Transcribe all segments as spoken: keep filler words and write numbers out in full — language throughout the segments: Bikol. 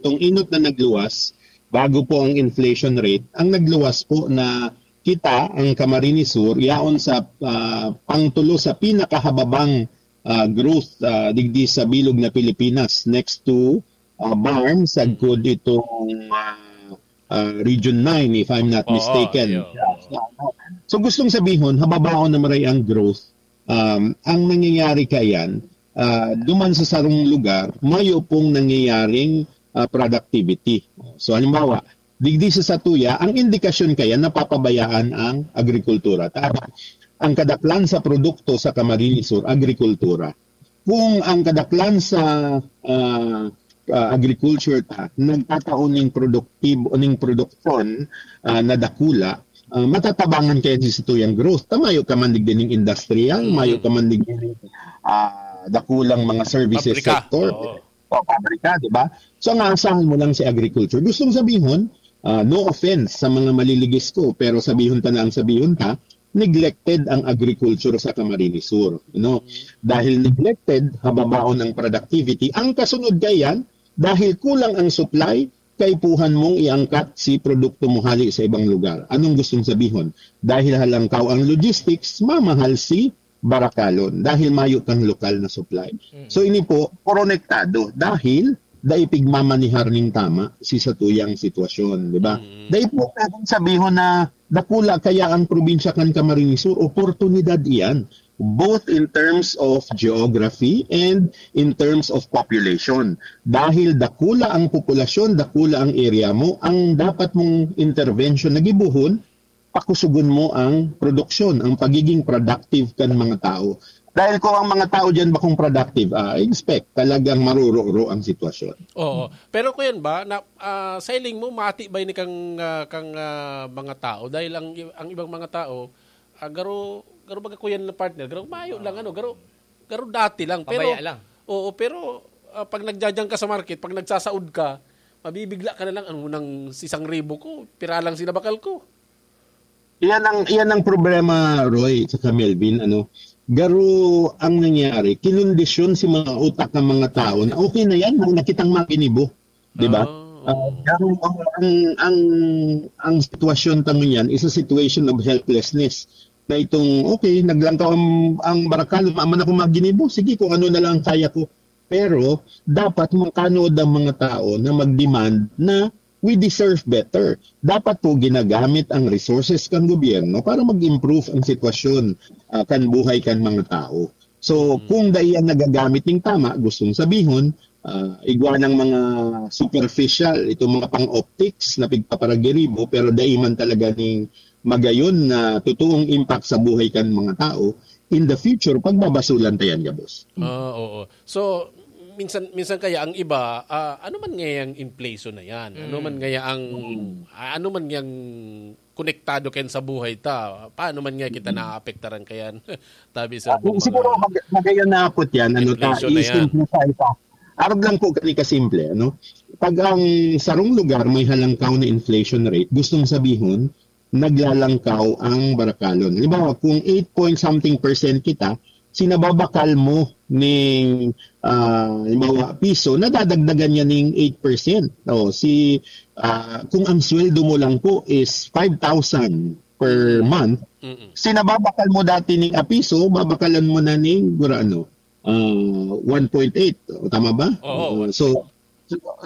Itong inot na nagluwas, bago po ang inflation rate, ang nagluwas po na kita, ang Camarines Sur, yaon sa ah, pangtulo sa pinakahababang ah, growth ah, digdi sa bilog na Pilipinas, next to ah, BARMM, sagkod itong ah, ah, Region nine, if I'm not Oo, mistaken. Iyo. So gustong sabihon, hababaon na maray ang growth. Um, ang nangyayari kayan, ah, duman sa sarong lugar, mayo pong nangyayaring ah, productivity. So halimbawa, digdi sa satuya, ang indikasyon kaya napapabayaan ang agrikultura. Tama. Ang kadaklan sa produkto sa Camarines Sur, agrikultura. Kung ang kadaklan sa ah, ah, agriculture ta nagtatao ning produktibo, ning produksyon ah, na dakula, ah, matatabangan kaya si satuyang growth. Ta mayo ka man digdi ning industrial, mayo ka man digdi ning ah, dakulang mga services Pabrika. sector. Oo. O pabrika, di ba? So ang aasahan mo lang si agriculture. Gustong sabihon, ah, no offense sa mga maliligis ko, pero sabihon ta na ang sabihon ta, neglected ang agriculture sa Camarines Sur. No? Dahil neglected, hababaon ang productivity. Ang kasunod kayan, dahil kulang ang supply, kaipuhan mong iangkat si produkto mo hali sa ibang lugar. Anong gustong sabihon? Dahil halangkaw ang logistics, mamahal si barakalon dahil mayo kang lokal na supply. So ini po, konektado dahil dai pigmamanihar ning tama si satuyang sitwasyon, di ba? Dai po pwedeng sabihon na dakula kaya ang probinsya kan Camarines Sur, oportunidad iyan, both in terms of geography and in terms of population. Dahil dakula ang populasyon, dakula ang area mo, ang dapat mong intervention na gibohon, pakusugon mo ang produksyon, ang pagiging productive kan mga tao. Dahil kung ang mga tao diyan bakong productive, ah, expect talagang maruroro ang sitwasyon. Oo. Pero kuyan ba, na, ah, sa hiling mo, mati ba ini kang, ah, kang ah, mga tao? Dahil ang, ang ibang mga tao, ah, garo, garo baga kuyan na partner, garo mayo lang, ano, garo, garo dati lang. Pero, Pabaya lang. Oo, pero ah, pag nagjajang ka sa market, pag nagsasaod ka, mabibigla ka na lang, ano nang isang ribo ko, pira lang sinabakal ko. Iyan ang iyan ang problema, Roy, sa Melvin, ano. Garo ang nangyari, kinondisyon si mga utak ng mga tao na okay na yan, wala na kitang maginibo, di ba? Ah, Ah, ang, ang, ang, ang sitwasyon ta ngunyan is a situation of helplessness. Na itong, okay, naglangkaw ang, ang barakal, maaman ako maginibo, sige, kung ano na lang ang kaya ko. Pero dapat makanood ang mga tao na mag-demand na we deserve better. Dapat po ginagamit ang resources kan gobyerno para mag-improve ang sitwasyon ah, kan buhay kan mga tao. So, kung dai yan nagagamit ning tama, gustong sabihon, ah, igwa ng mga superficial, itong mga pang-optics na pigpaparagiribo, pero dai man talaga ning magayon na totoong impact sa buhay kan mga tao, in the future, pagbabasulan ta yan, gabos. Ah, oo. So, minsan minsan kaya ang iba, ah, ano man ngayang inflation na yan? Ano man ngaya ang ah, ano man ngayang konektado kayan sa buhay ta? Paano man nga kita naapektaran kayan? Tabi sa Kung siguro mag, magayon na apot yan, ano ta, Inflation na yan. i-simplify ta. Arog lang po kani kasimple, ano? Pag ang sarong lugar may halangkaw na inflation rate, gustong sabihon, naglalangkaw ang barakalon. Halimbawa, kung eight point something percent kita, sinababakal mo ning ah, halimbawa, piso, nadadagdagan niya ning eight percent. O, si, ah, kung ang sweldo mo lang po is five thousand per month, Mm-mm. sinababakal mo dati ning a piso, babakalan mo na ning gura ano, ah, one point eight. O, tama ba? Oo. Ah, so,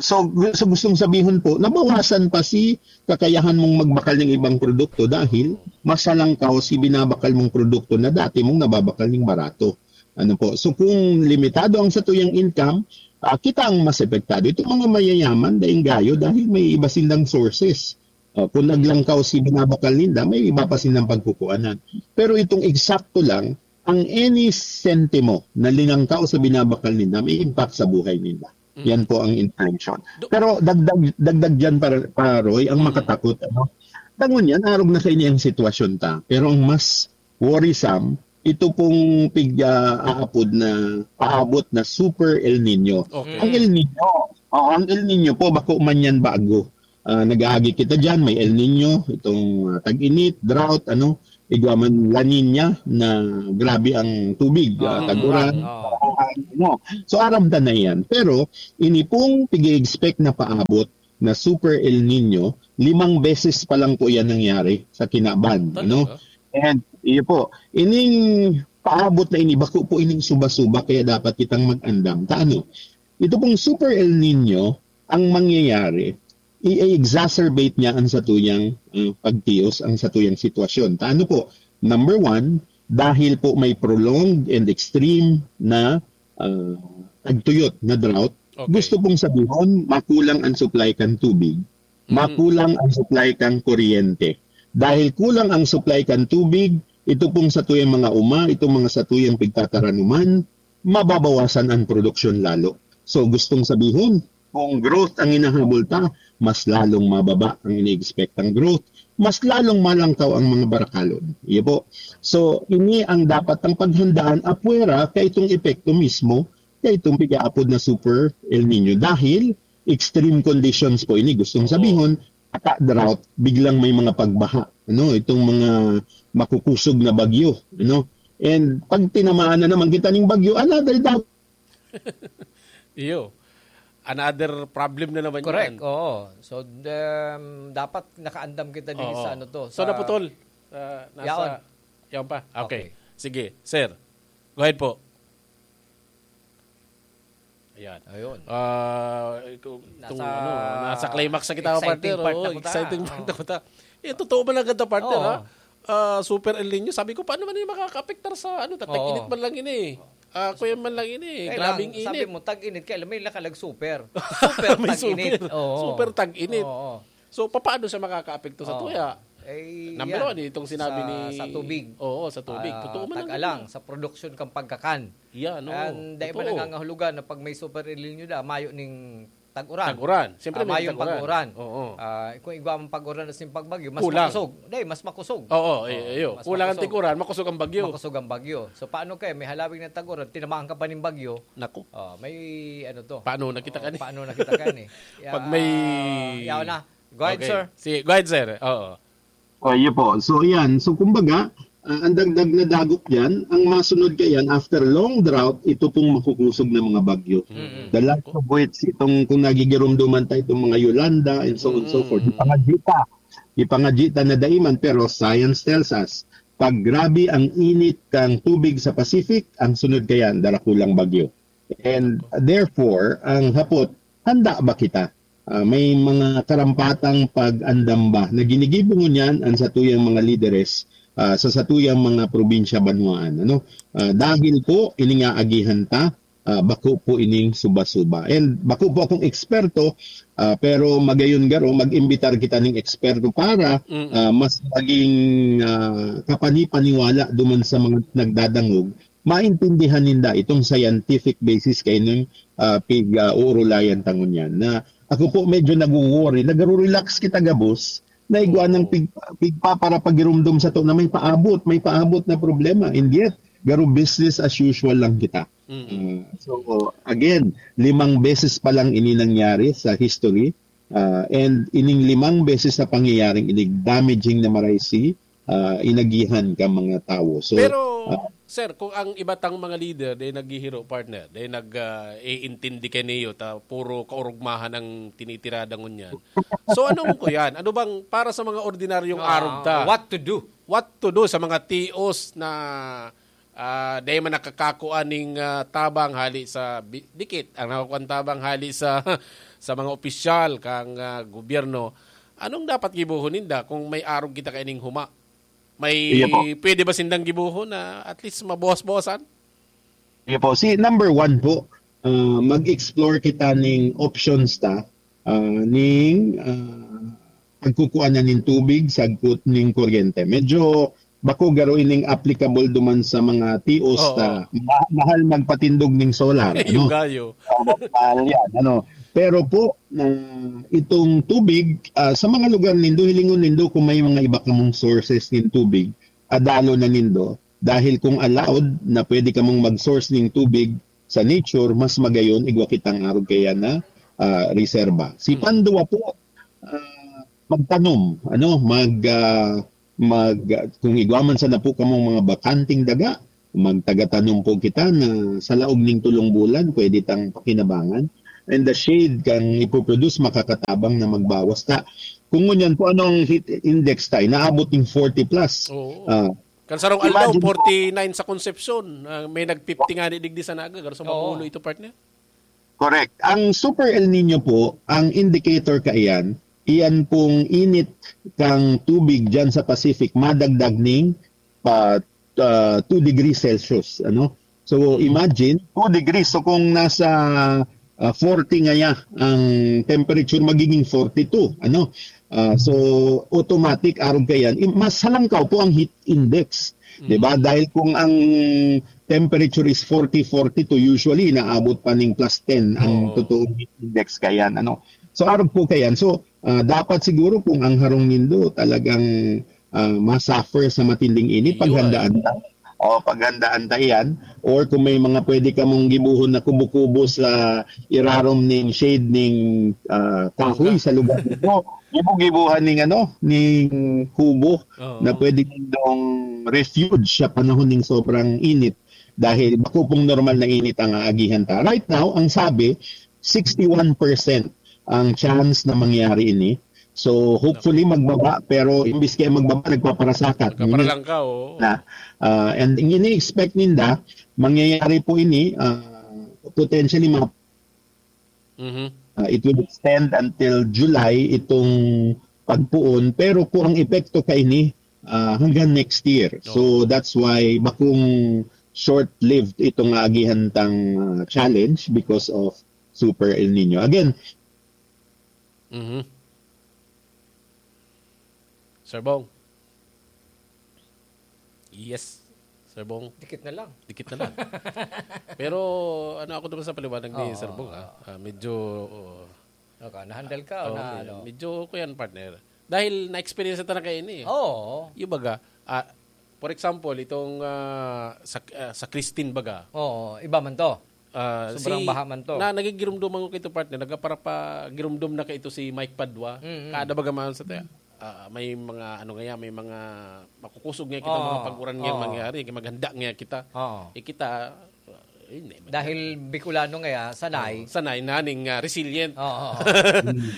so, so gustong sabihon po, nabawasan pa si kakayahan mong magbakal ng ibang produkto dahil mas halangkaw si binabakal mong produkto na dati mong nababakal ng barato. Ano po? So kung limitado ang satuyang income, ah, kita ang mas epektado. Itong mga mayayaman, daing gayo dahil may iba silang sources. Ah, kung naglangkaw si binabakal ninda, may iba pa silang pagkukuanan. Pero itong eksakto lang, ang any sentimo na linangkaw sa binabakal ninda, may impact sa buhay ninda. Yan po ang inflation. Do- Pero dagdag dagdag diyan, para, para Roy, ang makatakot, ano? Dangon yan, arog na kaini ang sitwasyon ta. Pero ang mas worrisome, ito pong pig ah, aapod na paabot na super El Nino. Okay. Ang El Nino, oh, ang El Nino po, bako man yan bago. Ah, nag-aagi kita diyan, may El Nino, itong ah, tag-init, drought, ano, igwa man La Nina na grabe ang tubig, ah, Oo, tag-uran. oo. ano. So, aram ta na yan. Pero, ini pong pig-expect na paabot na Super El Nino, limang beses pa lang po yan nangyari sa kinaban. Ano? Talaga? And, iyo po, ining paabot na ini, bako po ining suba-suba, kaya dapat kitang mag-andam. Ta ano? Ito pong Super El Nino, ang mangyayari, i-exacerbate niya ang satuyang uh, pagtios, ang satuyang sitwasyon. Ta ano po? Number one, dahil po may prolonged and extreme na uh, tagtuyot na drought, Okay. gusto pong sabihon, makulang ang supply kan tubig, Mm. makulang ang supply kan kuryente. Dahil kulang ang supply kan tubig, ito pong satuyang mga uma, itong mga satuyang pigtataranuman, mababawasan ang produksyon lalo. So gustong sabihon, kung growth ang hinahabol ta, mas lalong mababa ang ini-expect ang growth, mas lalong malangkaw ang mga barakalon. Iyo po. So, ini ang dapat ang paghandaan apwera kay itong epekto mismo kay itong pigaapod na Super El Nino. Dahil extreme conditions po ini, gustong Oo. sabihon, ata drought, biglang may mga pagbaha. Ano, itong mga makukusog na bagyo. Ano? And pag tinamaan na naman kita ng bagyo, another drought. Iyo. Another problem na naman Correct, yan. Oo. So, um, dapat nakaandam kita din Oo. sa ano to. So, sa- naputol. Ah, nasa... Yaon. Yaon pa. Okay. Okay. Sige, sir. Go ahead po. Ayan. Ayun. Ah, itong, itong Nasa ano, nasa climax sa kita, exciting partner. part na Oo, kita. exciting Oo. part na kita. Eh, totoo ba na ganda, partner, Oo. ha? Ah, Super El Nino. Sabi ko, paano man yung makakaapektar sa ano, tag-init Oo. man lang ini? Ah, kuya man lang ini. Kailangan, Grabing sabi init. mo, tag-init. Kaya may nakalagsuper. Super May tag-init. super. Oo. Super tag-init. Oo. So, paano siya makakaapekto sa Oo. tuya? Eh, Number yan. one, itong sinabi sa, ni... sa tubig. Oo, sa tubig. Ah, Totoo man lang. Tag-alang, sa production kang pagkakan. Yan, oo. And dahil ba Totoo. nangangahulugan na pag may super El Nino da, mayo ning tag-uran. Tag-uran. Siyempre, Ah, may mayong tag-uran. pag-uran. Oo. Ah, kung igwa mong pag-uran na sin pagbagyo, mas Kulang. makusog. Dahil, mas makusog. Oo, eh, Oo, iyo. mas Kulang ang makusog. tikuran, makusog ang bagyo. Makusog ang bagyo. So, paano kaya? May halawig na tag-uran, tinamaan ka pa ning bagyo. Naku. Oh, may ano to. Paano na kita Oh, kani? Paano na kita kani? Pag may Ah, yaw na. Go ahead, Okay. sir. Sige, go ahead, sir. Oo. Oh, iyo po. So, yan. So, kumbaga, ah, ang dagdag na dagok dyan, ang masunod kayan, after long drought, ito pong makukusog na mga bagyo. Mm. The likes of which, itong kung nagigirumduman tayo, itong mga Yolanda and so on and so Mm. forth. Ipangadyi ta. Ipangadyi ta na daiman, pero science tells us, pag grabe ang init kang tubig sa Pacific, ang sunod kayan, darakulang bagyo. And therefore, ang hapot, handa ba kita? Ah, may mga karampatang pag-andam ba na ginigibo ngunyan ang satuyang mga lideres ah, sa satuyang mga probinsya banwaan? Ano? Ah, dahil po, ini nga agihan ta, ah, bako po ining suba-suba. And bako po akong eksperto, ah, pero magayon garo, mag-imbitar kita ning eksperto para Mm. ah, mas maging ah, kapani-paniwala duman sa mga nagdadangog, maintindihan ninda itong scientific basis kay nung ah, pig-uurulayan ta ngunyan. Na ako po medyo nagwo-worry, nagro-relax kita gabos, na igwa ng pig, pigpapara pagirumdom sa to na may paabot, may paabot na problema. And yet, garo business as usual lang kita. Mm. Ah, so, again, limang beses pa lang ini nangyari sa history. Ah, and ining limang beses na pangyayaring inig damaging na maray si ah, inagihan ka mga tawo. So, Pero, ah, sir, kung ang iba tang mga leader, day naghihiro, partner, day nag-iintindi kay niyo, ta puro kaurugmahan ang tinitirada ngunyan. So, anong ko yan? Ano bang para sa mga ordinaryong Ah, arog ta? What to do? What to do sa mga tios na ah, day man nakakakua ning ah, tabang hali sa bi- dikit, ang nakukuan tabang hali sa sa mga opisyal kang ah, gobyerno? Anong dapat gibohon ninda kung may arog kita kaining huma? May Iya po. Pwede ba sindang gibohon na at least mabawas-bawasan? Iyo po. Si number one po, ah, mag-explore kita ning options ta, ah, ning ah, pagkukuha na ning tubig, sagkot ning kuryente. Medyo bako garo ining applicable duman sa mga tios Oo. ta. Ma- mahal magpatindog ning solar. Yung Ano? gayo. Oo, mahal yan. Ano? Pero po, na itong tubig, ah, sa mga lugar nindo, hilingon nindo kung may mga iba kamong sources ng tubig, adalo na nindo. Dahil kung allowed na pwede kamong mag-source ng tubig sa nature, mas magayon, igwa kitang arog kaya na ah, reserba. Si Hmm. Pandua po, ah, magtanom, ano, mag, ah, mag, kung igwa man sana po kamong mga bakanting daga, Magtagatanom po kita na sa laog ning tolong bulan, pwede tang pakinabangan. And the shade kan ipoproduce makakatabang na magbawas ta. Kung ngunyan po, anong heat index tayo? Naabot yung forty plus. Oo. Ah, Kan sarong aldaw, imagine forty-nine sa Concepcion. Ah, may nag-fifty nga ni digdi sa Naga, garo sa Oo. Mapulo ito, partner. Correct. Ang Super El Nino po, ang indicator kaiyan, iyan pong init kang tubig dyan sa Pacific, madagdag ning pa, ah, two degrees Celsius, ano? So, imagine, two degrees. So, kung nasa, ah, forty ngaya ang temperature, magiging forty-two, ano? Ah, so, automatic, arog kaiyan, i-, mas halangkaw po ang heat index, 'di ba? Dahil kung ang temperature is forty, forty-two, usually inaabot pa ning plus ten ang Oo. totoong heat index kaiyan, ano? So, arog po kaiyan. So, ah, dapat siguro kung ang harong nindo talagang, ah, ma-suffer sa matinding init, Iyo, paghandaan ta. O, paghandaan ta iyan. Or kung may mga pwede kamong gibuhon na kubo-kubo sa irarom ning shade ning, ah, kahoy sa lugar nito, gibo-gibuhan ning ano, ning kubo Oo. na pwede nindong refuge sa panahon ning sobrang init. Dahil bako pong normal na init ang aagihan ta. Right now, ang sabi, sixty-one percent ang chance na mangyari ini. So, hopefully, magbaba, pero imbis kaya magbaba, nagpaparasakat. Nagpaparalangkaw, oo. Na, ah, and ang ini-expect ninda, mangyayari po ini, ah, potentially, mga, Mhm. ah, it will extend until July itong pagpuon. Pero kung ang epekto kaini, ah, hanggang next year. Oo. So, that's why bakong short-lived itong aagihan tang, ah, challenge because of Super El Nino. Again, Mhm. Sir Bong. Yes, Sir Bong. Dikit na lang. Dikit na lang. Pero ano, ako naman sa paliwanag ni Oo. Sir Bong, ha? Ah, medyo, oo. Okay, na-handle ka o Oo, na me-, ano? medyo kuyan, partner. Dahil na-experience ta na kayo ini, eh. Oo. Yung baga, ah, for example, itong, ah, sa, ah, sa Christine baga. Oo, iba man to. Ah, Sobrang si, baha man to. na, nagigirumduman ko kito, partner. Nagkaparapagirumdom na kaito si Mike Padua. Mm-mm. Kada baga man sa te-, ah, may mga, ano nga yan, may mga makukusog nga kita, Oo, mga pag-uran nga oo. mangyari, maghanda nga kita. Oo. Eh, kita, ah, hindi, Dahil Bicolano nga, sanay. Oo, sanay na ning, ah, resilient. Oo, oo.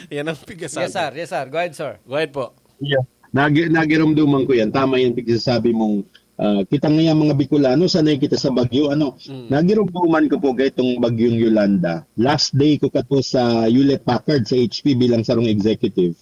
Yan ang pigasabi. Yes, sir. Yes, sir. Go ahead, sir. Go ahead po. Yeah. Nagi-, nagirumduman ko yan. Tama yung pagsasabi mong, ah, kita nga yung mga Bicolano, sanay kita sa bagyo, ano. Mm. Nagirumduman ko po kay itong bagyong Yolanda. Last day ko kato sa Hewlett Packard, sa H P bilang sarong executive.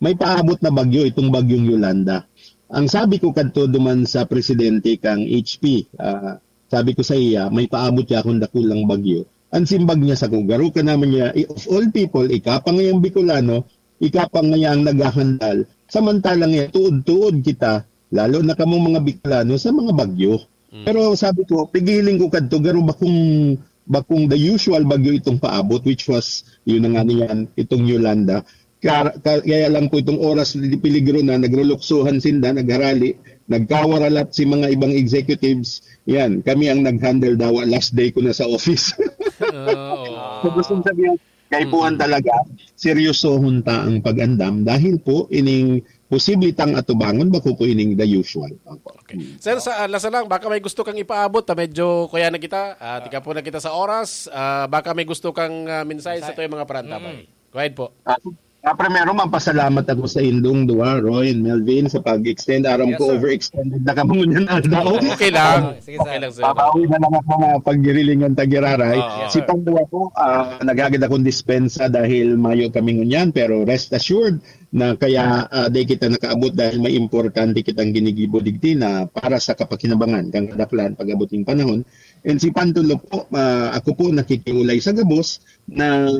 May paabot na bagyo itong bagyong Yolanda. Ang sabi ko kadto duman sa presidente kang H P, ah, sabi ko sa iya, "May paabot ya akong dakulang bagyo." Ang simbag niya sako, "Garo ka naman niya, i-, of all people, ika pa ngayang Bicolano, ika pa ngayang naghahandal. Samantalang yan, tuod-tuod kita, lalo na kamong mga Bicolano, sa mga bagyo." Mm. Pero sabi ko, pigiling ko kadto, garo bakong, bakong the usual bagyo itong paabot, which was, yun na nga niyan, itong Yolanda. Ka-, ka-, kaya lang po itong oras, di peligro na, nagruluksuhan sinda, nagharali, nagkawaralat si mga ibang executives. Yan, kami ang nag-handle dawa. Last day ko na sa office. Ah, oo. So, gusto kong sabihin, kaipuhan Mm. talaga, seryosohon ta ang pag-andam dahil po ining posible tang atubangon, bako po ining the usual. Opo. Okay. Mm. Sir, sa, ah, lasa lang, baka may gusto kang ipaabot, ah, medyo kuya na kita, ah, tika po na kita sa oras, ah, baka may gusto kang, ah, mensahe sa Mensahe. tuwing mga parantabay. Mm. Go ahead po. Ah, ah, primero, mapasalamat ako sa indong duwa, Roy and Melvin, sa pag-extend. Aram Yes, ko, sir. overextended na kamo ngunyan aldaw. Okay lang. Ah, sige, Okay sir. lang, sir. Pabawi na lang ako nga pagdirilingan ta giraray. Oo. Yes, Si sir. Pangduwa po, ah, naghagad akong dispensa dahil mayo kami ngunyan, pero rest assured na kaya, ah, di kita nakaabot dahil may importante kitang ginigibo digdi na para sa kapakinabangan kang kadaklan pag-abot ning panahon. And si Pantulo po, ah, ako po nakikiulay sa gabos na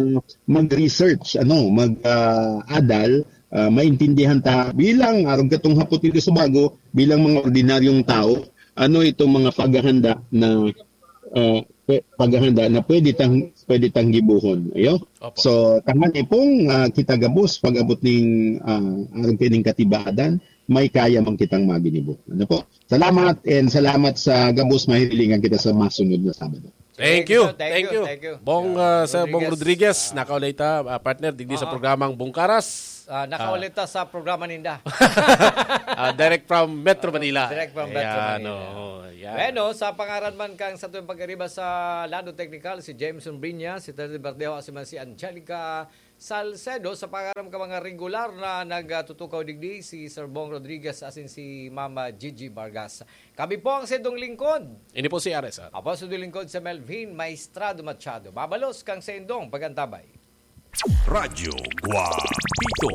mag-research, ano, mag, ah, adal, ah, maintindihan ta bilang, arog katong hapot nito sa bago, bilang mga ordinaryong tao, ano itong mga paghahanda na, ah, pwe-, paghahanda na pwede tang, pwede tang gibohon. Ayo? Opo. So, tangan ipong, ah, kita gabos pag-abot ning, ah, arog kining katibadan, may kaya man kitang maginibo. Ano po? Salamat and salamat sa gabos, mahirilingan kita sa masunod na Sabado. Thank Thank you, you. sir. Thank Thank you. you. Thank you. Bong, Sir ah, Sir Bong Rodriguez. Rodriguez, Ah. nakaulay ta, ah, partner, digdi sa Oo. programang Bungkaras. Ah, nakaulit ta sa programa ninda. Ah, direct from Metro Manila. Direct from Metro Ayan, Manila. Oo, yan. Bueno, sa pangaran man kang sa tuwing pag-ariba sa Lado Technical, si Jameson Brinya, si Teddy Bardeo, si man si Angelica Salcedo, sa pangaran ka mga regular na nagtutukaw digdi, si Sir Bong Rodriguez, asin si Mama Gigi Vargas. Kami po ang sendong lingkod. Ini po si R S R. Apo sa lingkod sa Melvin Maestrado Machado. Mabalos kang sendong pagantabay. Radyo Guapito.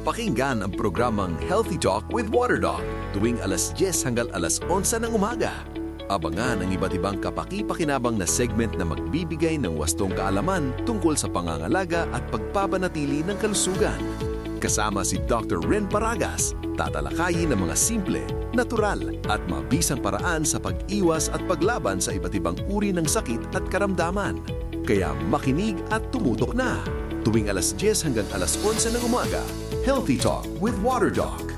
Pakinggan ang programang Healthy Talk with Water Doc tuwing alas dyes hanggang alas onse ng umaga. Abangan ang iba't ibang kapaki-pakinabang na segment na magbibigay ng wastong kaalaman tungkol sa pangangalaga at pagpapanatili ng kalusugan. Kasama si Doctor Ren Paragas, tatalakayin ang mga simple, natural, at mabisang paraan sa pag-iwas at paglaban sa iba't ibang uri ng sakit at karamdaman. Kaya makinig at tumutok na. Tuwing alas dyes hanggang alas onse ng umaga, Healthy Talk with Water Doc.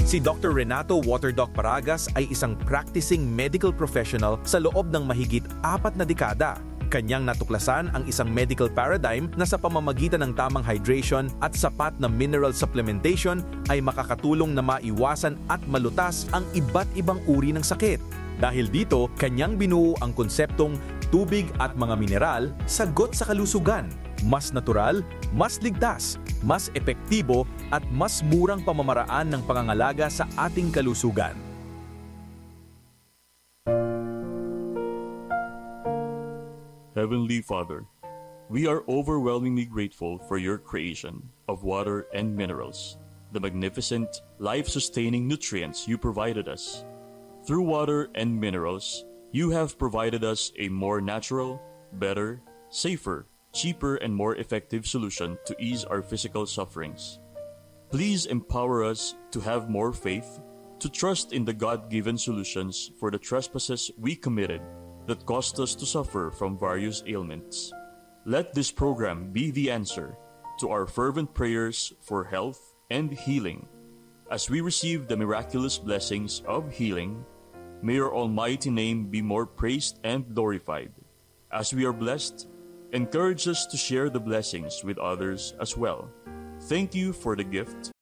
Si Doctor Renato Waterdoc Paragas ay isang practicing medical professional sa loob ng mahigit apat na dekada. Kanyang natuklasan ang isang medical paradigm na sa pamamagitan ng tamang hydration at sapat na mineral supplementation ay makakatulong na maiwasan at malutas ang iba't ibang uri ng sakit. Dahil dito, kanyang binuo ang konseptong tubig at mga mineral, sagot sa kalusugan. Mas natural, mas ligtas, mas epektibo, at mas murang pamamaraan ng pangangalaga sa ating kalusugan. Heavenly Father, we are overwhelmingly grateful for your creation of water and minerals, the magnificent, life sustaining nutrients you provided us. Through water and minerals, you have provided us a more natural, better, safer, cheaper, and more effective solution to ease our physical sufferings. Please empower us to have more faith, to trust in the God given solutions for the trespasses we committed that caused us to suffer from various ailments. Let this program be the answer to our fervent prayers for health and healing. As we receive the miraculous blessings of healing, may your almighty name be more praised and glorified. As we are blessed, encourage us to share the blessings with others as well. Thank you for the gift